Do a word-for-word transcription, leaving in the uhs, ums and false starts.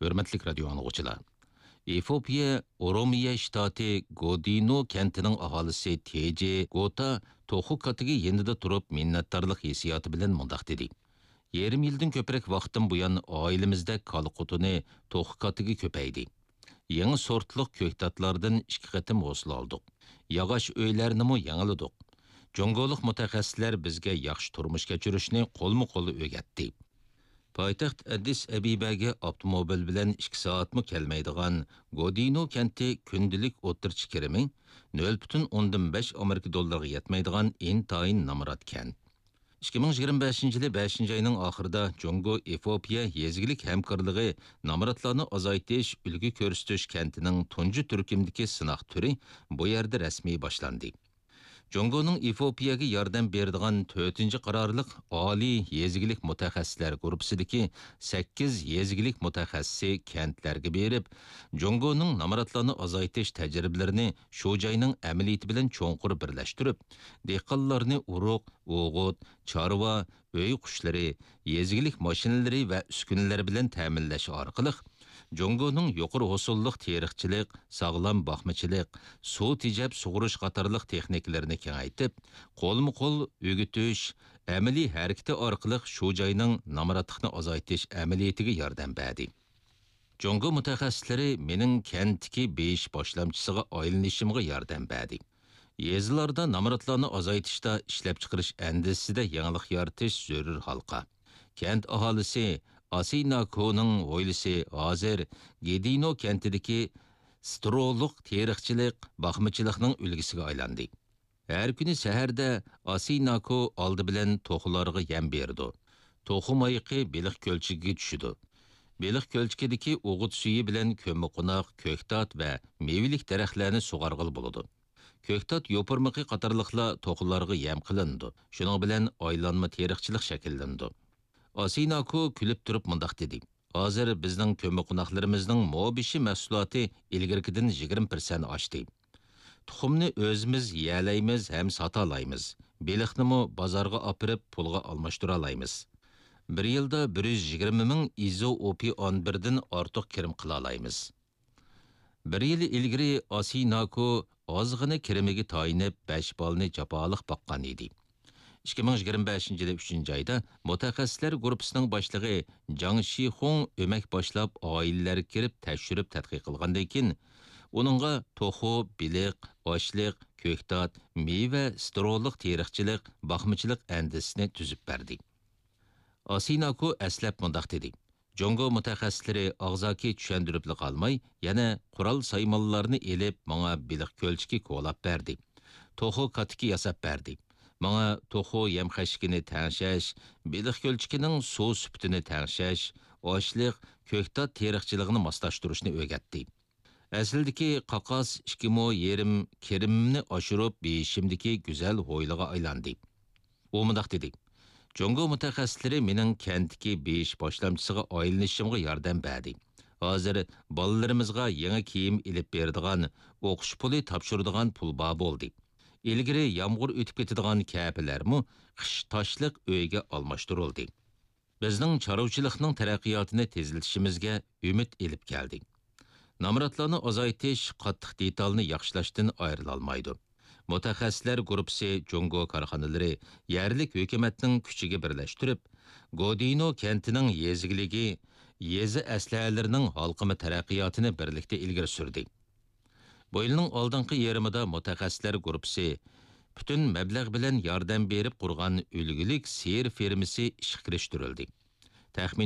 ھۆرمەتلىك رادىيو ئاڭلىغۇچىلار! ئېفىئوپىيە ئورومىيە شتاتى گودىنو كەنتىنىڭ ئاھالىسى تېجې گوتا توخۇ كاتىكى يېنىدا تۇرۇپ مىننەتدارلىق ھېسسىياتى بىلەن مۇنداق دېدى: يېرىم يىلدىن كۆپرەك ۋاقىتتىن بۇيان ئائىلىمىزدە كالا قوتۇنى، توخۇ كاتىكى كۆپەيدى. يېڭى سورتلۇق كۆكتاتلاردىن ئىككى قېتىم ھوسۇل ئالدۇق. ياغاچ ئۆيلەرنىمۇ يېڭىلىدۇق. جۇڭگولۇق مۇتەخەسسىسلەر بىزگە ياخشى تۇرمۇش كەچۈرۈشنى قولمۇ قول ئۆگەتتى. پايتەخت ئەددىس ئەبىبەگە ئاپتوموبىل بىلەن ئىككى سائەتمۇ كەلمەيدىغان گودىنو كەنتى كۈندىلىك ئوتتۇرىچە كىرىمى نۆل پۈتۈن ئوندىن بەش ئامېرىكا دوللىرىغا يەتمەيدىغان ئىنتايىن نامرات كەنت. ئىككى مىڭ يىگىرمە بەشىنچى يىلى بەشىنچى ئاينىڭ ئاخىرىدا جۇڭگو ئېفىئوپىيە يېزا ئىگىلىك ھەمكارلىقى نامراتلارنى ئازايتىش، ئۈلگە كۆرسىتىش كەنتىنىڭ تۇنجى تۈركۈمدىكى سىناق تۈرى بۇ يەردە رەسمىي باشلاندى. جۇڭگونىڭ ئېفىئوپىيەگە ياردەم بېرىدىغان تۆتىنچى قارارلىق ئالىي يېزا ئىگىلىك مۇتەخەسسىسلەر گۇرۇپپىسىدىكى سەككىز يېزا ئىگىلىك مۇتەخەسسىسى كەنتلەرگە بېرىپ، جۇڭگونىڭ نامراتلارنى ئازايتىش تەجرىبىلىرىنى شۇ جاينىڭ ئەمەلىيىتى بىلەن چوڭقۇر بىرلەشتۈرۈپ، دېھقانلارنى ئۇرۇق، ئوغۇت، چارۋا، ئۆي قۇشلىرى، يېزا ئىگىلىك ماشىنىلىرى ۋە ئۈسكۈنىلەر بىلەن تەمىنلەش ئارقىلىق، جۇڭگونىڭ يۇقىرى ھوسۇللۇق تېرىقچىلىق، ساغلام باقمىچىلىق، سۇ تېجەپ سۇغۇرۇش قاتارلىق تېخنىكىلىرىنى كېڭەيتىپ، قولمۇ قول ئۆگىتىش، ئەمەلىي ھەرىكىتى ئارقىلىق شۇ جاينىڭ نامراتلىقنى ئازايتىش ئەمەلىيىتىگە ياردەم بەردى. جۇڭگو مۇتەخەسسىسلىرى مېنىڭ كەنتتىكى بېيىش باشلامچىسىغا ئايلىنىشىمغا ياردەم بەردى. يېزىلاردا نامراتلارنى ئازايتىشتا ئىشلەپچىقىرىش ئەندىزىسىدە يېڭىلىق يارىتىش زۆرۈر ھالقا. كەنت ئاھالىسى ئاسىناكونىڭ ھويلىسى ھازىر گېدىنو كەنتىدىكى سترولۇق تېرىقچىلىق، باقمىچىلىقنىڭ ئۈلگىسىگە ئايلاندى. ھەر كۈنى سەھەردە ئاسىناكو ئالدى بىلەن توخۇلارغا يەم بېرىدۇ. توخۇ مايىقى بېلىق كۆلچىكىگە چۈشىدۇ. بېلىق كۆلچىكىدىكى ئوغۇت سۈيى بىلەن كۆممىقوناق، كۆكتات ۋە مېۋىلىك دەرەخلەرنى سۇغارغىلى بولىدۇ. كۆكتات يوپۇرمىقى قاتارلىقلار توخۇلارغا يەم قىلىنىدۇ. شۇنىڭ بىلەن ئايلانما تېرىقچىلىق شەكىللىنىدۇ. ئاسىناكو كۈلۈپ تۇرۇپ مۇنداق دېدى: ھازىر بىزنىڭ كۆممىقوناقلىرىمىزنىڭ مو بېشى مەھسۇلاتى ئىلگىرىكىدىن يىگىرمە پىرسەنت ئاشتى. تۇخۇمنى ئۆزىمىز يېيەلەيمىز ھەم ساتالايمىز. بېلىقنىمۇ بازارغا ئاپىرىپ پۇلغا ئالماشتۇرالايمىز. بىر يىلدا بىر يۈز يىگىرمە مىڭ ئىزوئوپىئان بىردىن ئارتۇق كىرىم قىلالايمىز. بىر يىل ئىلگىرى ئاسىناكو ئازغىنە كىرىمىگە تايىنىپ، بەش بالىنى جاپالىق باققان ئىدى. ئىككى مىڭ يىگىرمە بەشىنچى يىلى ئۈچىنچى ئايدا مۇتەخەسسىسلەر گۇرۇپپىسىنىڭ باشلىقى جاڭ شىخۇڭ ئۆمەك باشلاپ، ئائىلىلەرگە كىرىپ تەكشۈرۈپ تەتقىق قىلغاندىن كېيىن، ئۇنىڭغا توخۇ، بېلىق، ئاشلىق، كۆكتات، مېۋە، سترولۇق تېرىقچىلىق، باقمىچىلىق ئەندىزىسىنى تۈزۈپ بەردى. ئاسىناكو ئەسلەپ مۇنداق دېدى: جۇڭگو مۇتەخەسسىسلىرى ئاغزاكى چۈشەندۈرۈپلا قالماي، يەنە قورال سايمانلارنى ئېلىپ، ماڭا بېلىق كۆلچىكى كولاپ بەردى. توخۇ كاتىكى ياساپ بەردى. ماڭا توخۇ يەم خەشىكىنى تەڭشەش، بېلىق كۆلچىكىنىڭ سۇ سۈپىتىنى تەڭشەش، ئاشلىق، كۆكتات تېرىقچىلىقىنى ماسلاشتۇرۇشنى ئۆگەتتى. ئەسلىدىكى قاقاس ئىككى مو يېرىم كىرىمىمنى ئاشۇرۇپ، بېيىشىمدىكى گۈزەل ھويلىغا ئايلاندى. ئۇ مۇنداق دېدى: جۇڭگو مۇتەخەسسىسلىرى مېنىڭ كەنتتىكى بېيىش باشلامچىسىغا ئايلىنىشىمغا ياردەم بەردى. ھازىر بالىلىرىمىزغا يېڭى كىيىم ئېلىپ بېرىدىغان، ئوقۇش پۇلى تاپشۇرىدىغان پۇل بار بولدى. ئىلگىرى يامغۇر ئۆتۈپ كېتىدىغان كەپىلەرمۇ قىش تاشلىق ئۆيگە ئالماشتۇرۇلدى. بىزنىڭ چارۋىچىلىقنىڭ تەرەققىياتىنى تېزلىتىشىمىزگە ئۈمىد ئېلىپ كەلدى. نامراتلارنى ئازايتىش قاتتىق دېتالنى ياخشىلاشتىن ئايرىلالمايدۇ. مۇتەخەسسىسلەر گۇرۇپپىسى جۇڭگو كارخانىلىرى يەرلىك ھۆكۈمەتنىڭ كۈچىگە بىرلەشتۈرۈپ، گودىنو كەنتىنىڭ يېزا ئىگىلىكى، يېزا ئەسلىھەلىرىنىڭ ھالقىما تەرەققىياتىنى بىرلىكتە ئىلگىرى سۈردى. بۇ يىلنىڭ ئالدىنقى يېرىمىدا مۇتەخەسسىسلەر گۇرۇپپىسى پۈتۈن مەبلەغ بىلەن ياردەم بېرىپ قۇرغان ئۈلگىلىك سىيىر فېرمىسى ئىشقا كىرىشتۈرۈلدى. تەخمىنەن